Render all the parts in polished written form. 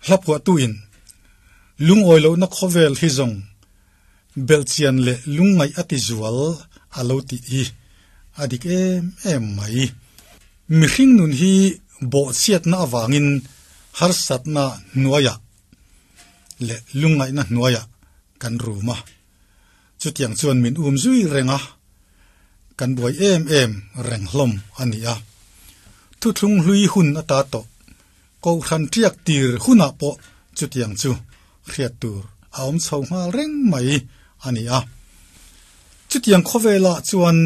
Hlaphuahtuin lungawi lohna khawvel hi zawng belhchian leh lungngaih a ti zual a lo tih hi a dik em em mai. Mihring nun hi bawhchhiatna avangin harsatna hnuaiah leh lungngaihna hnuaiah kan rum a. Chutiang chuan min um zui reng a, kan buai em em reng hlawm a ni a. Thuthlung hlui hun ata tawh Kohhran ṭiak tir hunah pawh chutiang chu hriat tur a awm chho nghal reng mai a ni a. Chutiang khawvelah chuan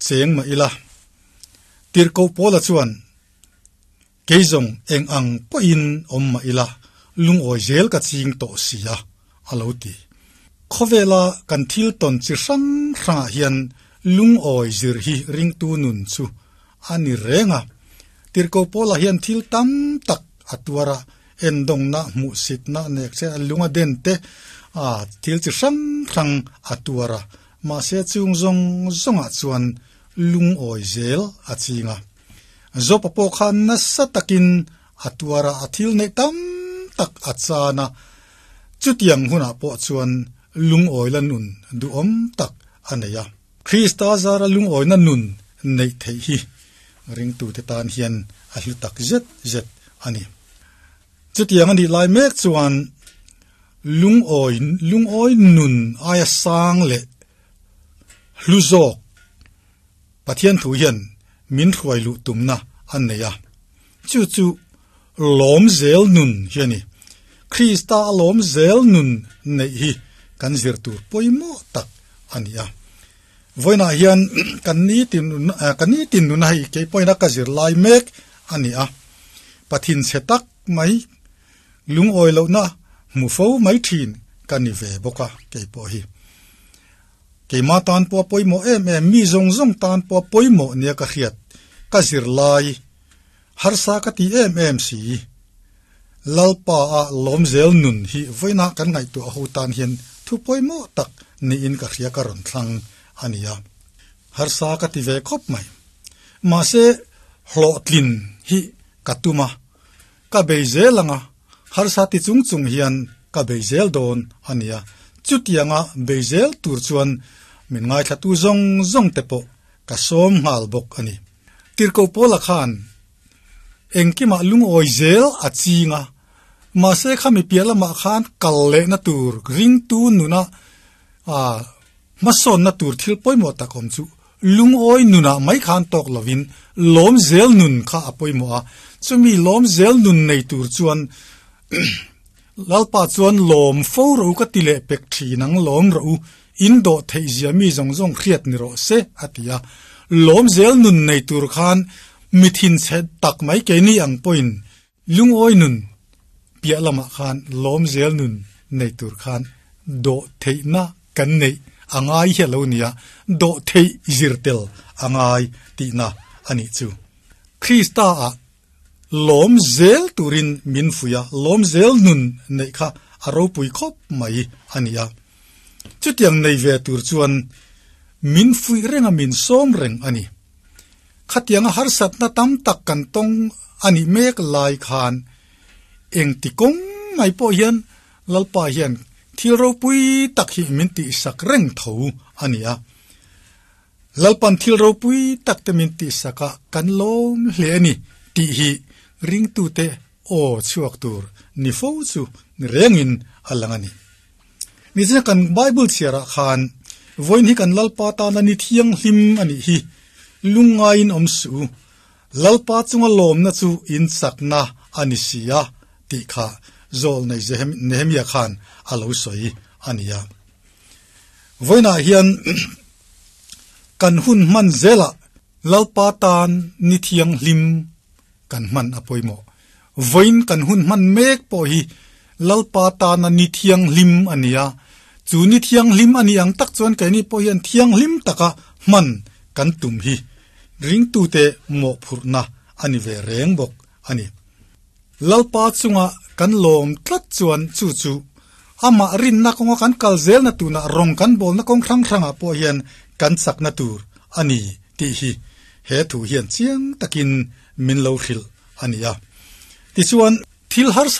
cheng mah ila, Tirhkoh Paula chuan, Kei zawng eng ang pawhin awm mah ila, lungawi zel ka ching tawh si a, a lo ti. Khawvela kan thil tawn chi hrang hrangah hian lungawi zir hi ringtu nun chu a ni reng a. Tirhkoh Paula hian thil tam tak a tuar a, endawngna, hmuhsitna, nekche a lung a den te, a thil chi hrang hrang a tuar a, mahse chung zawng zawngah chuan lungawi zel a ching a. Jopa pawh khan nasa takin a tuar a, a thil neih tam tak a chan a, chutiang hunah pawh chuan lungawila nun duhawm tak a nei a. Krista zara lungawina nun neih theih hi ringtute tan hian a hlu tak zet zet a ni. Chutiang a nih lai mek chuan lungawi lungawi nun aia sang leh hlu zawk Pathian thu hian min hruai luh tumna a nei a. Chu chu lawm zel nun hi a ni. Krista a lawm zel nun neih hi kan zir tur pawimawh tak a ni a. Vawiinah hian kan nitin kan nitin nuna hei kei pawhin a ka zir lai mek a ni a. Pathin chhe tak mai lungawi lohna hmu fo mai thin ka ni ve bawk a kei pawh hi. Keimah tan pawh a pawimawh em em, mi zawng zawng tan pawh a pawimawh nia ka hriat, ka zir lai, harsa ka ti em em si. Lalpa a lawmzel nun hi vawiinah kan ngaihtuah ho tan hian thu pawimawh tak niin ka hria ka rawn thlang a nia. Harsa ka ti ve khawp mai. Mahse, hlawhtlin hi ka tum a, ka bei zel ang a, Harsa ti chung chung hian ka bei zel dawn a nia. Chutianga bei zel tur chuan min ngaithlatu zawng zawng te pawh ka sawm nghal bawk a ni. Tirhkoh Paula khan engkimah lungawi zel a ching a, mahse khami piah lamah khan kal lehna tur ringtu nuna hmasawnna tur thil pawimawh tak awm chu Lungawi nunah mai khan tawk lovin lawm zel nun kha a pawimawh a, chumi lawm zel nun nei tur chuan Lalpa chuan lawm fo rawh u ka ti leh pek thin ang, lawm rawh u, in dawh theih zia mi zawng zawng hriat ni rawh se a ti a. Lawm zel nun nei tur khan mi thinchhe tak mai keini ang pawhin Lungawi nun piah lamah khan lawm zel nun nei tur khan dawh theihna kan neih a ngai hi a lo nia, dawh theih zir tel a ngai tihna a nih chu. Krista ah lawm zel turin min fuih a, lawm zel nun neih kha a ropui khawp mai a ni a. Chutiang nei ve tur chuan min fuih reng a, min sawm reng a ni. Khatianga harsatna tam tak kan tawng a nih mek lai khan engti kawng mai pawh hian Lalpa hian thil ropui tak hi min tihsak reng tho a ni a. Lalpan thil ropui tak te min tihsak a kan lawm hle a ni tih hi ringtute aw chhuak tur ni fo chu ni rengin a lang a ni. Nichina kan Bible chhiarah khan vawiin hi kan Lalpa tana ni thianghlim a nih hi lungngaiin awm suh u, Lalpa chunga lawmna chu in chakna a ni si a tih kha Zawlnei Nehemia khan a lo sawi a ni a. Vawiinah hian kan hun hman zelah Lalpa tan ni thianghlim kan hman a pawimawh. Vawiin kan hun hman mek pawh hi Lalpa tana ni thianghlim a ni a, chu ni thianghlim a nih ang tak chuan keini pawh hian thianghlim taka hman kan tum hi ringtute mawhphurhna a ni ve reng bawk a ni. Lalpa chunga kan lawm tlat chuan chu chu amah rinna kawnga kan kal zelna tunah rawng kan bawlna kawng hrang hrangah pawh hian kan chakna tur a ni tih hi he thu hian chiang takin min lo hrilh a ni a. Tichuan, thil harsa.